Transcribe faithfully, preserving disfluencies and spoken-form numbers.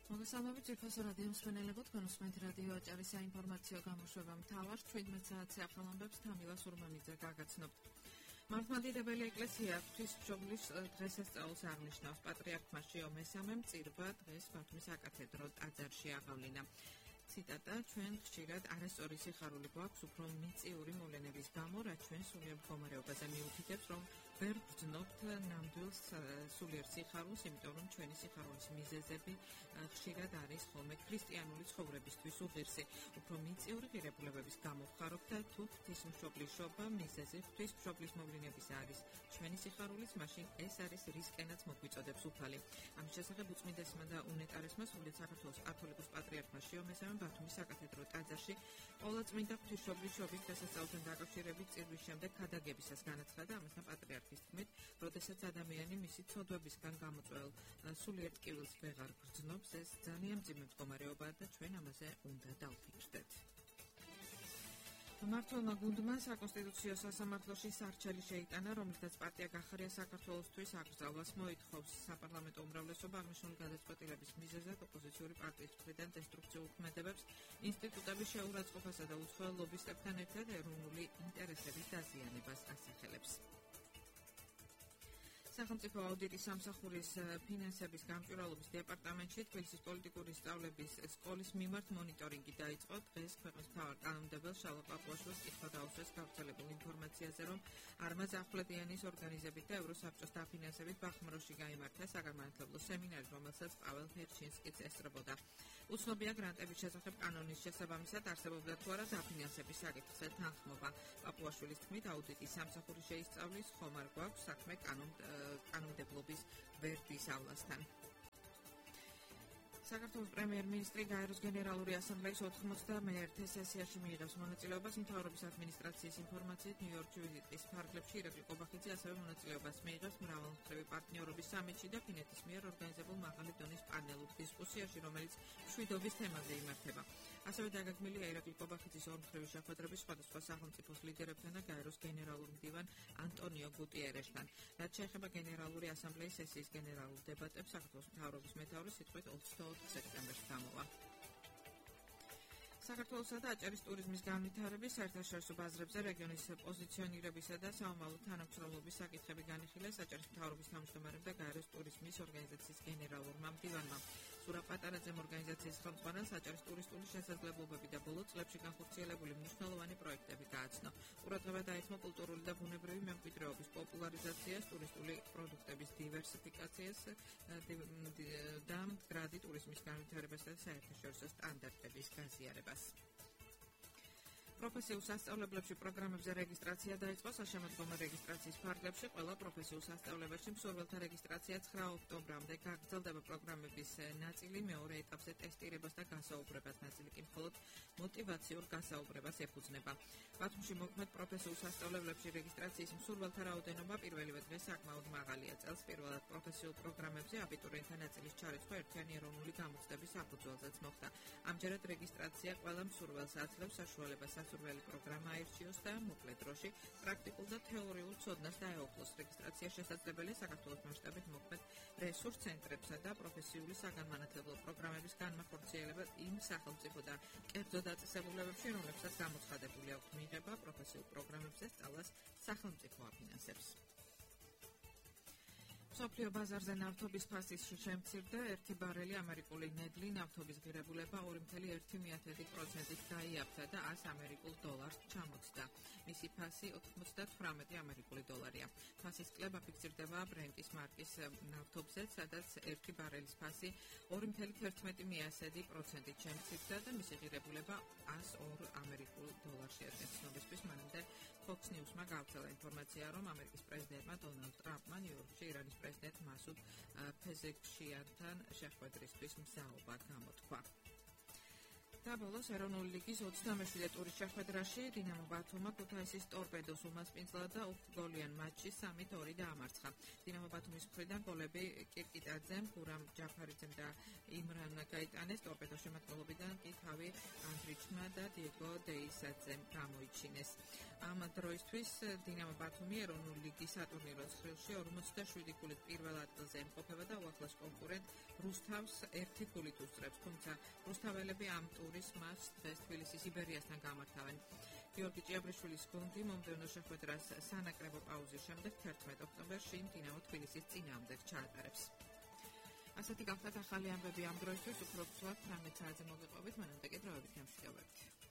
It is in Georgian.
მოგესალმებით ძვირფასო რადიო მსმენელებო, თქვენ უსმენთ რადიო აჭარის საინფორმაციო გამოშვება მთავარ შვიდმეტ საათზე ახალამბებს თამილა სურმანიძე გაგაცნობთ. მართლმადიდებელი ეკლესია ღვთისმშობლის დღესასწაულს აღნიშნავს. პატრიარქ მასიო მესამემ წირვა დღეს ბათუმის საკათედრო ტაძარში აღავლინა. ციტატა: ჩვენ ხშირად არასწორი სიხარული გვაქვს უფრო მიწიური მოვლენების გამო, რაც ჩვენ სულიერ მდგომარეობაზე მიუთითებს, რომ ვერ ვგრძნობთ ნამდვილ სულიერ სიხარულს, იმიტომ რომ ჩვენი სიხარულის მიზეზები ხშირად არის ხოლმე ქრისტიანული ცხოვრებისთვის უღირსი. უფრო მიწიური ღირებულებების გამო ვხარობთ და თუ ღვთისმშობლის შობა მიზეზი ღვთისმშობლის მოვლენების არის ჩვენი სიხარულის, მაშინ ეს არის რისკენაც მოგვიწოდებს უფალი. ამის შესახებ უწმიდესმა და უნეტარესმა სრულიად საქართველოს კათოლიკოს პატრიარქმა მასიო მესამემ ბათუმის საკათედრო ტაძარში ყოვლადწმინდა ღვთისმშობლის შობის დღესასწაულთან დაკავშირებით წირვის შემდეგ ქადაგებისას განაცხადა. ამასთან პატრიარქის თქმით, როდესაც ადამიანი მისი ცოდვებისგან გამოწვეულ სულიერ ტკივილს ვეღარ გრძნობს, ეს ძალიან მძიმე მდგომარეობაა და ჩვენ ამაზე უნდა დავფიქრდეთ. მმართველმა გუნდმა საკონსტიტუციო სასამართლოში სარჩელი შეიტანა, რომლითაც პარტია გახარია საქართველოსთვის აკრძალვას მოითხოვს. საპარლამენტო უმრავლესობა აღნიშნული გადაწყვეტილების მიზეზად ოპოზიციური პარტიის მხრიდან დესტრუქციულ ქმედებებს, ინსტიტუტების შეურაცხყოფასა და უცხოელ ლობისტებთან ერთად ეროვნული ინტერესების დაზიანებას ასახელებს. სახელმწიფო აუდიტის სამსახურის ფინანსების გამჭვირვალობის დეპარტამენტში თბილისის პოლიტიკური სწავლების სკოლის მიმართ მონიტორინგი დაიწყო. დღეს ქვეყნის მთავარ კანონმდებელს შალვა პაპუაშვილს კითხვა დაუსვეს გავრცელებულ ინფორმაციაზე, რომ არმაზ ახვლედიანის ორგანიზებით და ევროსაბჭოს დაფინანსებით ბახმაროში გაიმართა საგანმანათლებლო სემინარი, რომელსაც პაվել ჰერჩინსკიც ესწრებოდა. უცნობია გრანტების შესახებ კანონის შესაბამისად არსებობდა თუ არა დაფინანსების საკითხზე თანხმობა. პაპუაშვილის თქმით, აუდიტის სამსახური შეისწავლის, ხომ არ გვაქვს საქმე კანონმდებლობის ვერდისავლასთან. საქართველოს პრემიერ-მინისტრი გაეროს გენერალური ასამბლეის ოთხმოცდამეერთე სესიაში მიიღებს მონაწილეობას. მთავრობის ადმინისტრაციის ინფორმაციით, ნიუ-იორკში ვიზიტის ფარგლებში ირაკლი ყობახიძე ასევე მონაწილეობას მიიღებს მრავალმხრივი პარტნიორობის სამიტში და ფინეთის მიერ ორგანიზებულ მაღალი დონის პანელურ დისკუსიაში, რომელიც მშვიდობის თემაზე იმართება. ასევე დაგეგმილია ირაკლი ყობახიძის ორმხრივი შეხვედრები სხვადასხვა სახელმწიფოს ლიდერებთან და გაეროს გენერალურ მდივან ანტონიო გუტიერესთან. რაც შეეხება გენერალური ასამბლეის სესიის გენერალურ დებატებს, საქართველოს მთავრობის მეთაური სიტყვით ოცდაოთხ სექტემბერს გამოვა. საქართველოსა და აჭარის ტურიზმის განვითარების საერთაშორისო ბაზრებზე რეგიონის პოზიციონირებისა და საომალო თანამშრომლობის საკითხები განიხილეს აჭარის მთავრობის თავმჯდომარემ და გაეროს ტურიზმის ორგანიზაციის გენერალურმა მდივანმა. სურა პატარაძემ ორგანიზაციის ხელმძღვანელს აჭარის ტურისტული შესაძლებლობები და ბოლო წლებში განხორციელებული მნიშვნელოვანი პროექტები გააცნო. ყურადღება დაეთმო კულტურული და ბუნებრივი მემკვიდრეობის პოპულარიზაციას, ტურისტული პროდუქტების დივერსიფიკაციას და მდგრადი ტურიზმის განვითარებასა და საერთაშორისო სტანდარტების გაზიარებას. პროფესიულ სასწავლებლებში პროგრამებზე რეგისტრაცია დაიწყო. საშემოდგომო რეგისტრაციის ფარგლებში ყველა პროფესიულ სასწავლებელში მსურველთა რეგისტრაცია ცხრა ოქტომბრამდე გაგრძელდება. პროგრამების ნაწილი მეორე ეტაპზე ტესტირებას და გასაუბრებას, ნაწილი კი მხოლოდ მოტივაციურ გასაუბრებას ეფუძნება. ბათუმში მოქმედ პროფესიულ სასწავლებლებში რეგისტრაციის მსურველთა რაოდენობა პირველივე დღეს საკმაოდ მაღალია. წელს პირველად პროფესიულ პროგრამებზე აბიტურიენტთა ნაწილის ჩარიცხვა ერთიანი ეროვნული გამოცდების საფუძველზეც მოხდა. ამჯერად რეგისტრაცია ყველა მსურველს აძლევს საშუალებას სასურველი პროგრამა აირჩიოს და მოკლე დროში პრაქტიკულ და თეორიულ ცოდნას დაეუფლოს. რეგისტრაცია შესაძლებელია საქართველოს მასშტაბით მოქმედ რესურს ცენტრებსა და პროფესიული საგანმანათლებლო პროგრამების განმახორციელება იმ სახელმწიფო და კერძო დაწესებულებებში, რომლებსაც გამოცხადებული აქვთ მიღება პროფესიულ პროგრამებზე სწავლას სახელმწიფო აფინანსებს. მსოფლიო ბაზარზე ნავთობის ფასის შემცირდა. ერთი ბარელი ამერიკული ნედლი ნავთობის ღირებულება ორი წუთი ერთი პროცენტით გაიაფთა და ას ამერიკულ დოლარს ჩამოწდა. მისი ფასი ოთხმოცდათვრამეტი ამერიკული დოლარია. ფასის კლება ფიქსირდება ბრენტის მარკის ნავთობზე, სადაც ერთი ბარელის ფასი ორი წუთი თერთმეტი პროცენტით შემცირდა და მისი ღირებულება ას ორი ამერიკულ დოლარს შეადგენს. ცნობისთვის მანამდე Fox News-მა გავრცელა ინფორმაცია, რომ ამერიკის პრეზიდენტმა დონალდ ტრამპმა ნიუ-იორკში ირანის პრეზიდენტ მასუდ ფეზექშიანთან შეხვედრისთვის მზაობა გამოთქვა. და ბოლოს ეროვნული ლიგის ოცდამეშვიდე ტურის შეხვედრაში დინამო ბათუმმა ქუთაისის ტორპედოს უმასპინძლა და ութგოლიან მაჩში სამით ორი დაამარცხა. დინამო ბათუმის მხრიდან გოლები კირკიტაძემ, გურამ ჯაფარიძემ და იმრან გაიტანეს, ტორპედოს შემადგენლობიდან კი თავი ანდრიჩმა და დიეგო დეისაძემ გამოიჩინეს. ამ დროისთვის დინამო ბათუმი ეროვნული ლიგის სატურნირო ცხრილში ორმოცდაშვიდი ქულით პირველ ადგილზე იმყოფება და უახლოს კონკურენტ რუსთავს ერთი ქულით უსწრებს, თუმცა რუსთაველები ამ ტურის მატჩს დღეს თბილისის იბერიასთან გამართავენ. გიორგი ჭიაბრიშვილის გუნდი მომდევნო შეხვედრას სანაკრებო პაუზის შემდეგ თერთმეტ ოქტომბერში დინამო თბილისის წინააღმდეგ ჩაატარებს. ასეთი გახლავთ ახალი ამბები ამ დროისთვის, უფრო ვთქვათ თერთმეტ საათზე მოგეყვებით, მანამდე კი დროებით გამშვიდობებით.